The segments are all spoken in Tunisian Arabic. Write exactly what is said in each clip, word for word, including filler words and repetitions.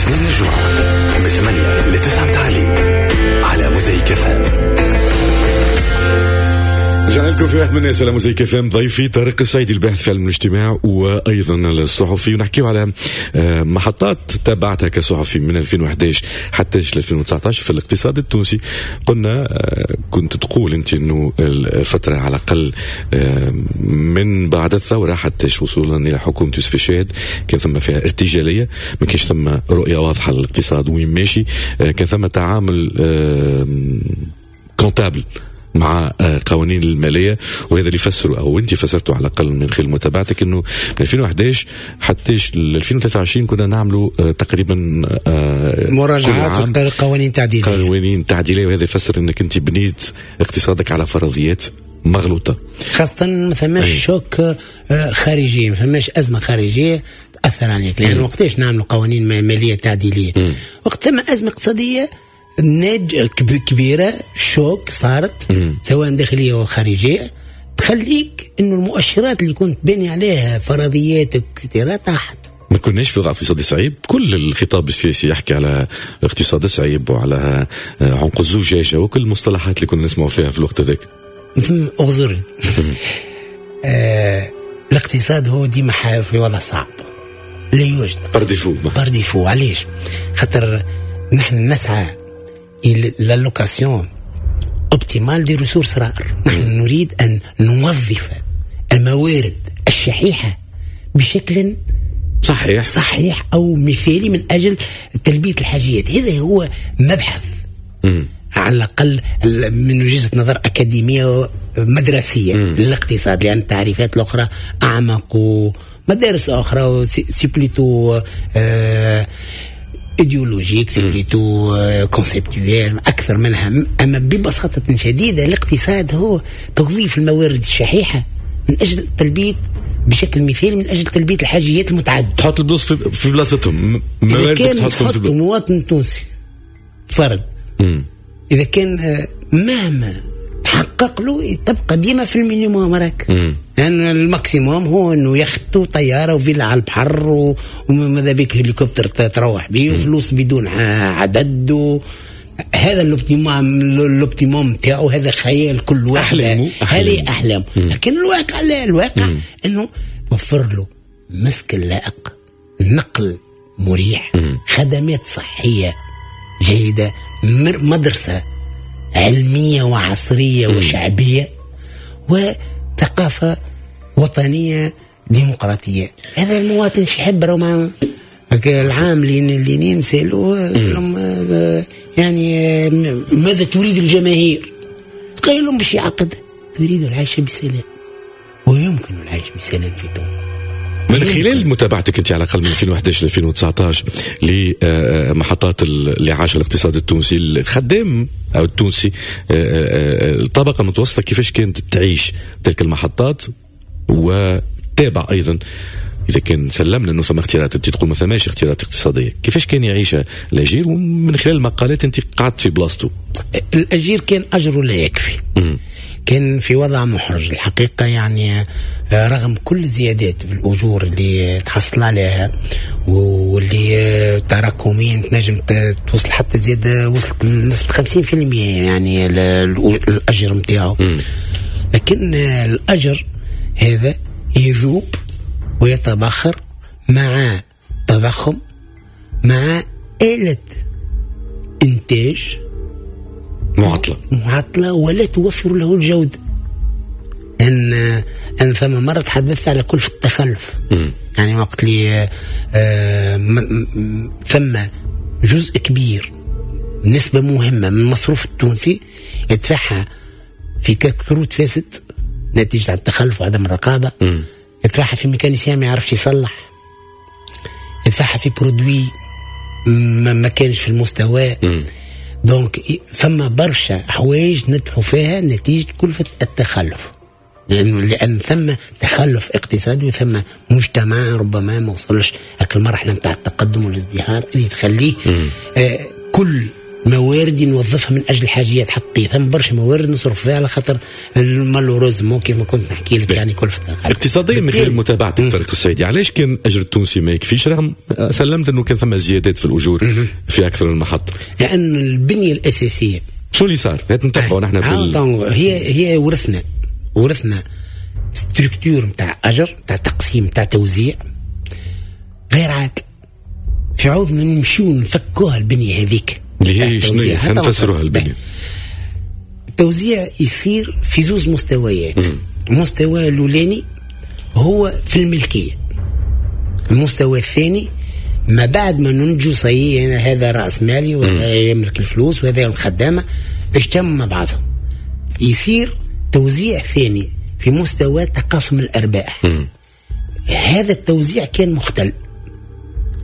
الاثنين للجمعة من ثمانية لتسعة متاع الليل على موزايك اف ام. رجعنا لكم في واحد من الناس على موزايك اف ام. ضيفي طارق السعيدي، الباحث في علم الاجتماع وايضا الصحفي، ونحكيو على آه، محطات تابعتها كصحفي من ألفين وأحد عشر حتى ألفين وتسعطاش في الاقتصاد التونسي. قلنا، آه، كنت تقول انت انه الفترة على الاقل، آه، من بعد الثورة حتى وصولا الى حكومة يوسف الشاهد كان ثم فيها ارتجاليه، ما كانش ثم رؤية واضحة للاقتصاد وين ماشي، كان ثم تعامل comptable مع آه، قوانين الماليه، وهذا اللي فسروا او انت فسرته على الاقل من خلال متابعتك انه من ألفين وأحد عشر حتى ألفين وثلاثة وعشرين كنا نعملوا آه، تقريبا آه، مراجعات قوانين تعديليه. قوانين تعديليه، وهذا يفسر انك انت بنيت اقتصادك على فرضيات مغلوطه. خاصة ما ثماش choc خارجي، ما ثماش ازمة خارجية تاثر عليك، لان وقتاش نعملوا قوانين ماليه تعديليه؟ وقت ثم ازمة اقتصادية ناج كبيره، choc صارت مم. سواء داخلية او خارجيه، تخليك انه المؤشرات اللي كنت باني عليها فرضياتك كثيرة طاحت. ما كناش في وضع اقتصادي صعيب، كل الخطاب السياسي يحكي على اقتصاد صعيب وعلى عنق الزجاجة وكل المصطلحات اللي كنا نسمعوا فيها في الوقت هذاك. اغزرني، آه الاقتصاد هو ديما في وضع صعب، لا يوجد par défaut. par défaut، علاش؟ خاطر نحن نسعى الى l'allocation optimale des ressources rares، نحن نريد ان نوظف الموارد الشحيحه بشكل صحيح صحيح او مثالي من اجل تلبية الحاجيات. هذا هو مبحث مم. على الاقل من وجهه نظر اكاديمية مدرسيه للاقتصاد، لان التعريفات الاخرى اعمق ومدارس اخرى، c'est plutôt آه idéologique، c'est plutôt conceptuel اكثر منها. اما ببساطة شديدة الاقتصاد هو توظيف الموارد الشحيحه من اجل تلبية بشكل مثالي من اجل تلبية الحاجيات المتعدده. تحط البلوص في, في بلاصتهم. اذا كان تحط مواطن تونسي فرد، مم. اذا كان آه، مهما تحقق له تبقى ديما في ال minimum راك، لان يعني ال maximum هو انه يخت وطياره وفيلا على البحر وماذا بك هليكوبتر تروح به وفلوس بدون عدد و هذا l'optimum l'optimum تاعو، هذا خيال كل واحد، هذه احلام. لكن الواقع لا، الواقع مم. انه وفر له مسكن لائق، نقل مريح، مم. خدمات صحية جيده، مدرسه علمية وعصريه مم. وشعبيه، وثقافة وطنية ديمقراطيه. هذا المواطن شو يحب؟ مع العام اللي اللي نسالوه يعني ماذا تريد الجماهير؟ قال لهم باش يعقد تريد العيش بسلام، ويمكن العيش بسلام في تونس. من خلال متابعتك انت على الاقل من ألفين وأحد عشر ل ألفين وتسعطاش لمحطات اللي عاش الاقتصاد التونسي، الخدام او التونسي، آه، آه، الطبقة المتوسطه، كيفاش كانت تعيش تلك المحطات؟ وتابع ايضا اذا كان سلمنا انه ثم اختيارات، انت تقول ما ثماش اختيارات اقتصاديه، كيفاش كان يعيش الاجير؟ ومن خلال المقالات انت قعدت في بلاصته. الاجير كان اجره لا يكفي، كان في وضع محرج الحقيقة، يعني آه، رغم كل الزيادات في الأجور اللي تحصل عليها واللي آه، تراكميا تنجم توصل حتى زيادة وصلت لنسبة خمسين في المية يعني الأجر نتاعو، لكن آه، الأجر هذا يذوب ويتبخر مع تضخم، مع آلة إنتاج معطلة. معطلة ولا توفر له الجودة. أن أن ثم مرة تحدثت على كلفة التخلف، م. يعني وقت اللي آه ثم جزء كبير، نسبة مهمة من المصروف التونسي يدفعها في كروت فاسد نتيجة التخلف وعدم الرقابة، يدفعها في mécanicien ما يعرفش يصلح، يدفعها في produit ما, ما كانش في المستوى. donc فما برشا حوايج ندفعوا فيها نتيجة كلفة التخلف، لأنه لأن ثم تخلف اقتصادي وثم مجتمع ربما ما وصلش هاك المرحلة نتاع التقدم والازدهار اللي تخليه آه كل مواردي نوظفها من اجل حاجيات حقيقية. ثم برشا موارد نصرف فيها على خاطر malheureusement كيف ما كنت نحكي لك يعني كلفه اقتصاديا. من خلال متابعتك طارق السعيدي، علاش كان اجر التونسي ما يكفيش رغم سلمت انه كان ثم زيادات في الاجور في اكثر من محطة؟ لان البنية الاساسية شو اللي صار؟ هات نتبعوا نحن بال... هي هي ورثنا ورثنا structure نتاع اجر، نتاع تقسيم، نتاع توزيع غير عادل. في عوض نمشيو نفكوها البنية هذيك اللي هي شنو؟ خلينا نفسروها البنية. التوزيع يصير في زوز مستويات. المستوى الاولاني هو في الملكية، المستوى الثاني ما بعد ما ننجو صحيح هذا راس مالي وهذا يملك الفلوس وهذا الخدامة، اجتمعوا مع بعضهم يصير توزيع ثاني في مستوى تقاسم الارباح. مم. هذا التوزيع كان مختل.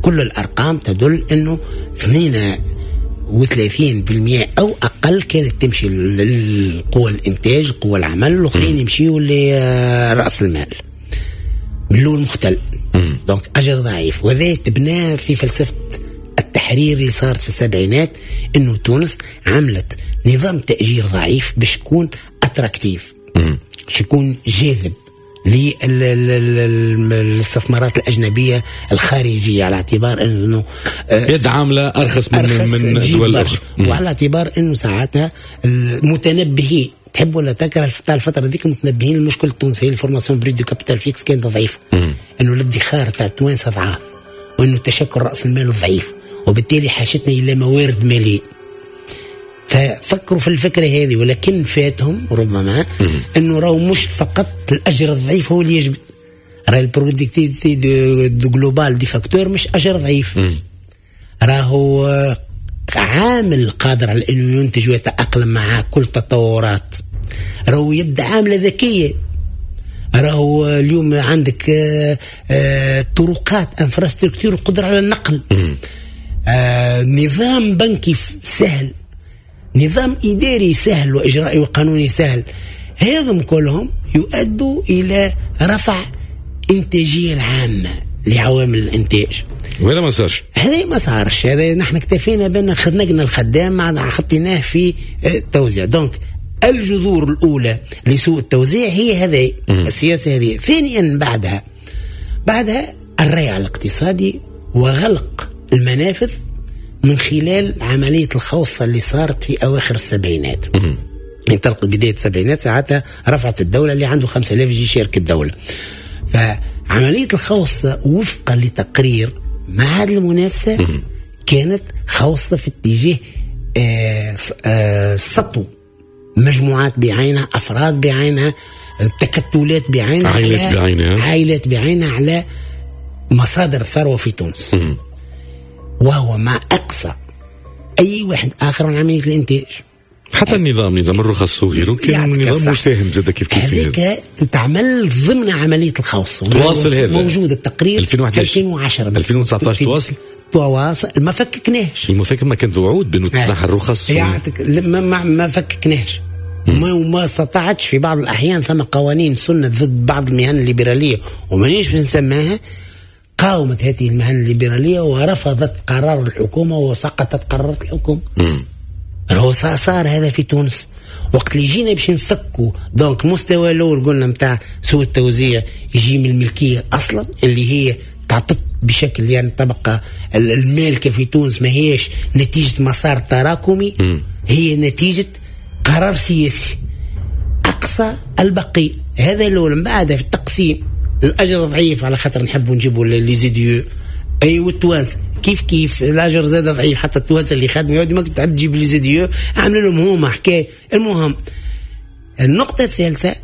كل الارقام تدل انه اثنين وثلاثين بالمئة أو أقل كانت تمشي للقوى الإنتاج، قوى العمل، الآخرين يمشيوا لرأس المال. من الأول مختل، donc أجر ضعيف. وهذا تبنى في فلسفة التحرير اللي صارت في السبعينات، إنه تونس عملت نظام تأجير ضعيف باش يكون attractif، باش يكون جاذب للاستثمارات الأجنبية الخارجية، على اعتبار أنه يد عاملة أرخص من, أرخص من دول أخرى، وعلى اعتبار أنه ساعتها المتنبهين تحب ولا تكره تاع الفترة ذيك متنبهين المشكلة التونسية ال formation brute du capital fixe كانت ضعيفة، أنه الادخار تاع التوانسة ضعاف، وأنه تشكل رأس المال ضعيف، وبالتالي حاجتنا إلى موارد مالية. ففكروا في الفكرة هذه، ولكن فاتهم ربما انه راهو مش فقط الاجر الضعيف هو اللي يجب، راه ال productivité de globale des facteurs مش اجر ضعيف، راهو عامل قادر على انه ينتج ويتأقلم مع كل تطورات، راهو يد عاملة ذكية، راهو اليوم عندك طرقات infrastructure قدرة على النقل، نظام بنكي سهل، نظام إداري سهل وإجرائي وقانوني سهل. هذم كلهم يؤدوا إلى رفع إنتاجية العامة لعوامل الإنتاج. وهذا ما صارش، هذا ما صارش. هذا نحن اكتفينا بأن خنقنا الخدام حطيناه في التوزيع. donc الجذور الأولى لسوء التوزيع هي هذه السياسة هذه. ثانيا بعدها بعدها الريع الاقتصادي وغلق المنافذ من خلال عملية الخوصة اللي صارت في أواخر السبعينات. انطلق بداية السبعينات ساعتها رفعت الدولة اللي عنده خمسة آلاف يجي يشارك الدولة. فعملية الخوصة وفقا لتقرير معهد المنافسة كانت خوصة في اتجاه آه آه سطو مجموعات بعينها، أفراد بعينها، تكتلات بعينها، عائلات بعينها، عائلات بعينها على مصادر الثروة في تونس، وهو ما أقصى أي واحد آخر من عملية الإنتاج. حتى النظام، نظام الرخص وغيره، كان نظام مساهم زاد كيف كيف هذيك تتعمل ضمن عملية الخوص. تواصل هذا موجود التقرير ألفين وأحد عشر ألفين وعشرة ألفين وتسعة عشر تواصل تواصل ما فككناش. المفك ما كانت وعود بأنه تتنحى الرخص يعطيك ما, ما, ما فككناش ما وما استطاعتش في بعض الأحيان. ثم قوانين سنت ضد بعض المهن الليبرالية ومانيش بنسماها، قاومت هذه المهن الليبرالية ورفضت قرار الحكومة وسقطت قرارات الحكومة. هو صار هذا في تونس وقت اللي جينا باش نفكوا. donc المستوى الاول قلنا نتاع سوء التوزيع يجي من الملكية اصلا اللي هي تعطت بشكل يعني الطبقة المالكة في تونس ما هيش نتيجة مسار تراكمي، م. هي نتيجة قرار سياسي اقصى البقي. هذا الاول. من بعد في التقسيم الاجر ضعيف على خاطر نحبوا نجيبوا les IDE اي والتوانسه كيف كيف الاجر زاد ضعيف، حتى التوانسة اللي خدموا يقعد ما تحب تجيب les IDE عملوا لهم هما حكاية. المهم النقطة الثالثة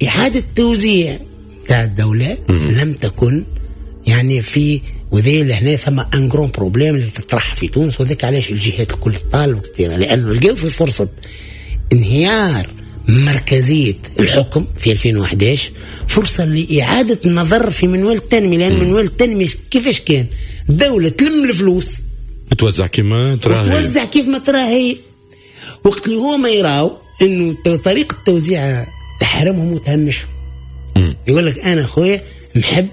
اعاده توزيع تاع الدولة لم تكن يعني في وذي لهنا ثم un grand problème اللي تطرح في تونس، وذاك علاش الجهات الكل تطالب كثيرا، لانه لقاو في فرصة انهيار مركزية الحكم في ألفين وأحد عشر فرصة لإعادة النظر في منوال التنمية. لأن منوال التنمية كيفاش كان؟ الدولة تلم الفلوس توزع كما تراها، توزع كيف ما تراها هي. وقت اللي هما يراو إنه طريقة التوزيع تحرمهم وتهمشهم، يقول لك أنا خويا نحب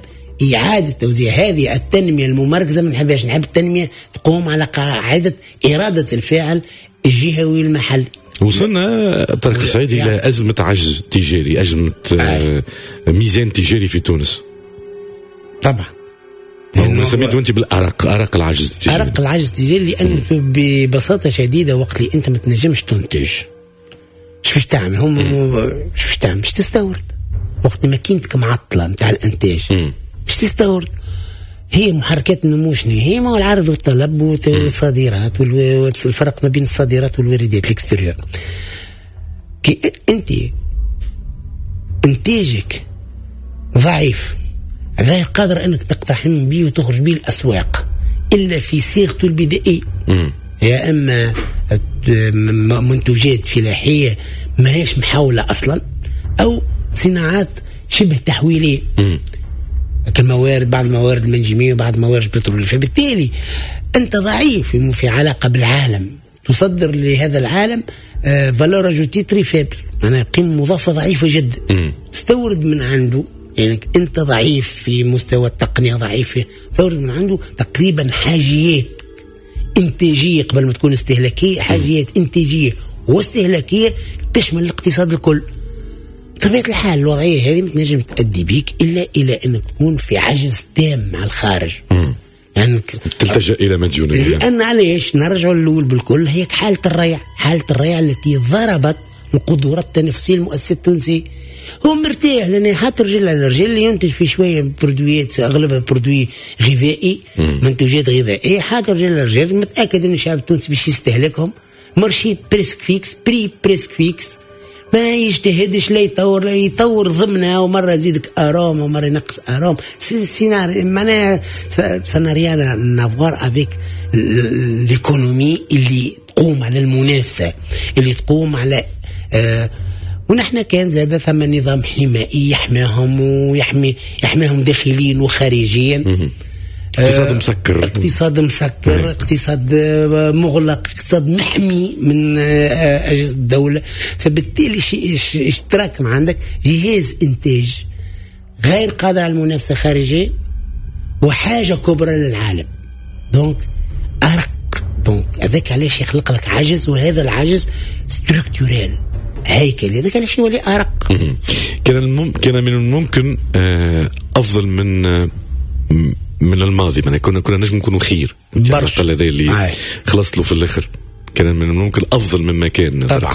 إعادة توزيع. هذه التنمية الممركزة ما نحبهاش، نحب التنمية تقوم على قاعدة إرادة الفاعل الجهوي المحلي. وصلنا طارق السعيدي إلى أزمة عجز تجاري، أزمة آه. ميزان تجاري في تونس. طبعا سميته أنت بالأرق، أرق العجز التجاري. أرق العجز التجاري لأنه ببساطة شديدة وقت اللي أنت ما تنجمش تنتج، شو باش تعمل؟ هم شو باش تعمل؟ باش تستورد. وقت ماكينتك معطلة نتاع الإنتاج باش تستورد. هي محركات النمو شنو هي؟ ما هو العرض والطلب والصادرات والفرق ما بين الصادرات والواردات، l'extérieur. كي انت انتاجك ضعيف، غير قادر انك تقتحم به وتخرج به الاسواق الا في صيغته البدائية، يا اما منتوجات فلاحية ما هيش محاولة اصلا، او صناعات شبه تحويليه كالموارد، بعض الموارد المنجميه وبعض الموارد البتروليه. فبالتالي انت ضعيف في علاقة بالعالم، تصدر لهذا العالم valeur ajoutée très faible، معناها قيمة مضافة ضعيفة جدا. تستورد من عنده، يعني انت ضعيف في مستوى التقنية، ضعيف، تستورد من عنده تقريبا حاجيات انتاجية قبل ما تكون استهلاكية، حاجيات انتاجية واستهلاكيه تشمل الاقتصاد الكل. بطبيعة الحال الوضعية هذه ما تنجم تؤدي بيك إلا إلى أنك تكون في عجز تام مع الخارج. يعني تلتجأ إلى مديونية. لأن علاش نرجع للأول بالكل، هي حالة الريع، حالة الريع التي ضربت القدرات التنافسية للمؤسسة التونسية. هو مرتاح لأن حاط رجل على رجل، ينتج في شوية produit ات أغلبها produit غذائي، منتوجات غذائية، حاط رجل على رجل، متأكد أن الشعب التونسي باش يستهلكهم. marché presque fixe، prix presque fixe، ما يجتهدش لا يطور، لا يطور ضمنها، ومرة يزيدك arôme ومرة ينقص arôme. سيناريو معناها ça n'a rien à voir avec l'économie اللي تقوم على المنافسة، اللي تقوم على آه ونحن كان زاد ثم نظام حمائي يحميهم ويحمي يحميهم داخليا وخارجيا. اقتصاد مسكر، اقتصاد مسكر، اقتصاد مغلق، اقتصاد محمي من أجهزة الدولة. فبالتالي شيء اشتراك عندك جهاز إنتاج غير قادر على المنافسة خارجية وحاجة كبرى للعالم. donc أرق، donc هذاك علاش يخلق لك عجز، وهذا العجز structurel هيكلي، هذاك علاش يولي أرق. كان المم... كان من الممكن أفضل من من الماضي، معناها كنا كنا نجم نكونوا خير برشا. هذا اللي خلصت له في الاخر كان من الممكن افضل مما كان. طبعا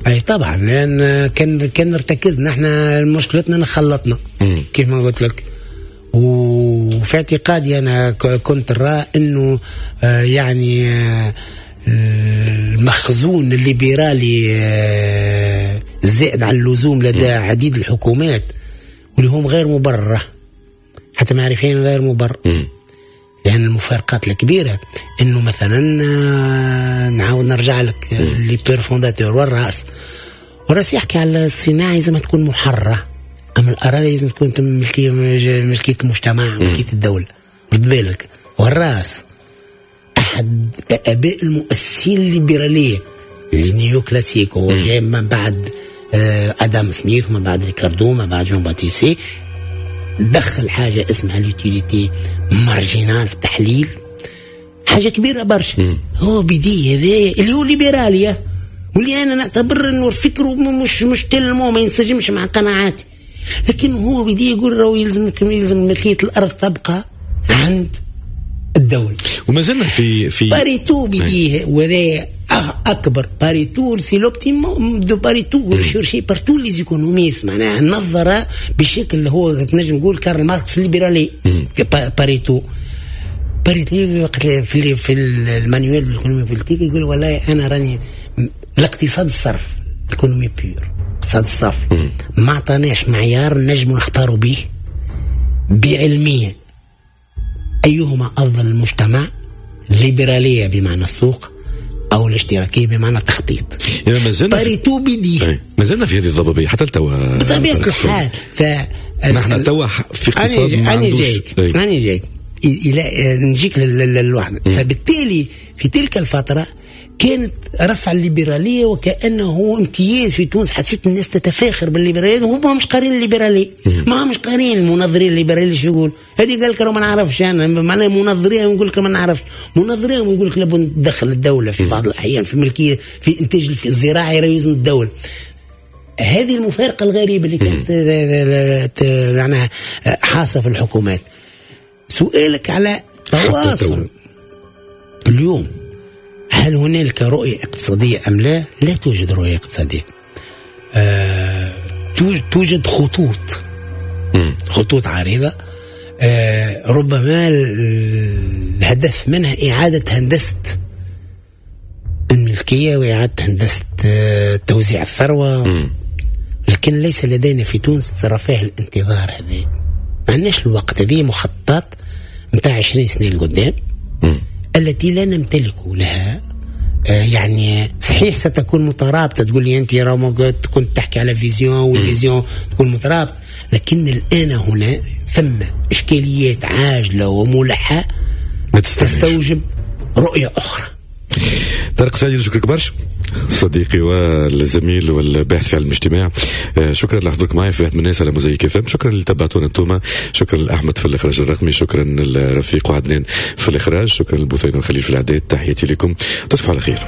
اي طبعا، لان كان كان ارتكزنا احنا، مشكلتنا نخلطنا كيف ما قلت لك. وفي اعتقادي انا كنت نرى انه يعني المخزون الليبرالي الزائد على اللزوم لدى عديد الحكومات واللي هم غير مبررة، حتى معرفين غير مبرر. لأن المفارقات الكبيرة إنه مثلا نعاود نرجع لك les pères fondateurs والرأس، والرأس يحكي على الصناعة لازم تكون محررة، أما الأراضي لازم تكون ملكية، ملكية المجتمع، ملكية الدولة. رد بالك، والرأس أحد آباء المؤسسين الليبرالية les néoclassiques، هو جاي من بعد آدم سميث ومن بعد ريكاردو ومن بعد جون باتيسي، دخل حاجة اسمها l'utilité marginale في التحليل، حاجة كبيرة برشا. هو بدي هذا اللي هو ليبرالية، واللي أنا نعتبر إنه فكرة مش مش tellement ما ينسجمش مع قناعاتي، لكن هو بدي يقول راهو يلزم يلزم ملكية الأرض تبقى عند الدولة. وما زلنا في في باريتو بديه، وهذا أكبر باريتو، c'est l'optimum de Pareto recherché par tous les économistes، معناها نظر بشكل اللي هو تنجم نقول كارل ماركس الليبرالي. باريتو باريتو في في ال manuel d'économie politique يقول والله أنا راني الاقتصاد الصرف، l'économie pure، الاقتصاد الصافي ما عطاناش معيار نجم نختاروا به بعلمية أيهما أفضل المجتمع، الليبرالية بمعنى السوق أو الاشتراكية بمعنى التخطيط. يعني مازلنا باريتو بدي ما زلنا في هذه الضبابية حتى لتوا بطبيعة الحال. ف نحن توا في اقتصاد ما عندوش. أنا جايك إلى نجيك للوحدة. فبالتالي في تلك الفترة كانت رفع الليبرالية وكانه امتياز في تونس. حسيت الناس تتفاخر بالليبرالية وهم مش قارين الليبرالية، ما همش قارين المنظرين الليبرالية شو يقول. هذه قال لك ما نعرفش انا، معناها منظرين يقول لك ما نعرفش، منظرين يقول لك لابد تدخل الدولة في بعض الاحيان في ملكية في انتاج الزراعي رئيس الدولة. هذه المفارقة الغريبة اللي كانت معناها حاصه في الحكومات. سؤالك على تواصل اليوم، هل هنالك رؤية اقتصادية أم لا؟ لا توجد رؤية اقتصادية. آه، توجد خطوط، خطوط عريضة، آه، ربما الهدف منها إعادة هندسة الملكية وإعادة هندسة آه، توزيع الثروة، لكن ليس لدينا في تونس رفاه الانتظار هذا. ما عندناش الوقت. هذه مخططات متاع عشرين سنة لقدام التي لا نمتلك لها. آه يعني صحيح ستكون مترابطة، تقول لي أنت راهو كنت تحكي على vision وال vision تكون مترابطة، لكن الآن هنا ثم إشكاليات عاجلة وملحة تستوجب رؤية أخرى. طارق سعيد، نشكرك برشا صديقي والزميل والباحث في علم الاجتماع. شكرا لحضورك معي في واحد من الناس على موزايك اف ام. شكرا اللي تبعتونا انتم، شكرا لاحمد في الاخراج الرقمي، شكرا للرفيق وعدنان في الاخراج، شكرا لبثينة وخليل في الاعداد. تحياتي لكم، تصبحوا على خير.